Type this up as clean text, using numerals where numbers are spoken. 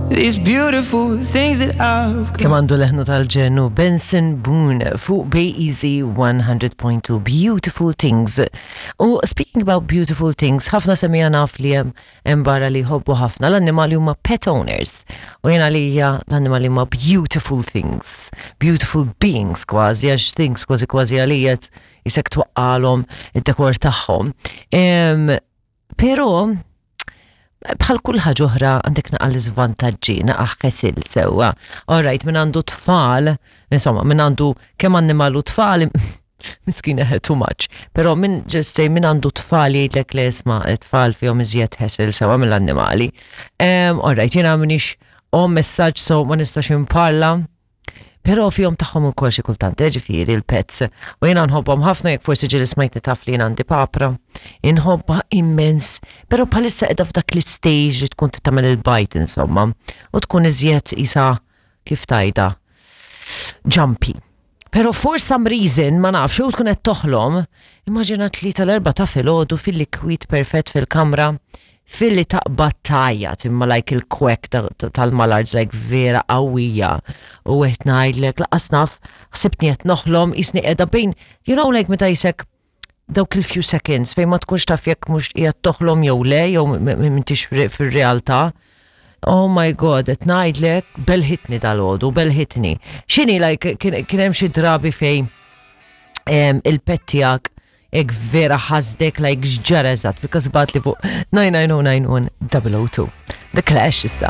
These beautiful things that I've got. Kemm għandu leħnu tal-ġenu Benson Boone fuq Bay Easy 100.2 Beautiful Things. U speaking about beautiful things, ħafna semija naf li hemm hemm barra li jħobbu ħafna l-annimali huma pet owners. U jena li hija l-annimali huma beautiful things, beautiful beings kważi, għax things kważi kważi għalijet jisek twaqqalhom id-dekor tagħhom. Però bħal kull ħaġa oħra għandek naqa l-iżvantaġġi, naqa ħesil sewwa. All right, min għandu tfal, insomma, min għandu kemm annimal u tfal, miskina too much. Però min just say min għandu tfal jgħidlek li isma' tfal fihom iżjed ħesil sewwa mill-annimali. All right, jiena minix om messaġġ so ma nistax imparla. Però fihom tagħhom ukoll xi kultant, eh, ġifieri l-pets. U jiena nħobbhom ħafna jekk forsi ġieli smajtni taf li jiena għandi papra. Inħobbha immens, però bħalissa qiegħda f'dak l-istage li tkun tagħmel il-bajt insomma, u tkun iżjed isa kif tajda jumpy. Però for some reason, ma nafx, jew tkun qed toħlom, immaġina 3 l-4 ta' filgħodu fil-kwiet perfett fil-kamra, filli taqbad tgħajjat imma like il-kwek tal-mallards like vera qawwija u qed ngħidlek laqas naf ħsibtni qed noħlom jisni qiegħda bejn like meta jisek dawk il-few seconds fejn ma tkunx taf jekk mhux qiegħed toħlom jew le jew m'intix fir-realtà. Oh my God, qed ngħidlek belħitni dal-għodu, belħitni. X'inhi like kien hemm xi drabi fejn il-pet tiegħek ek vera ħasdek like x'ġara eżatt, because bagħatli fuq 99091 002. The Clash issa.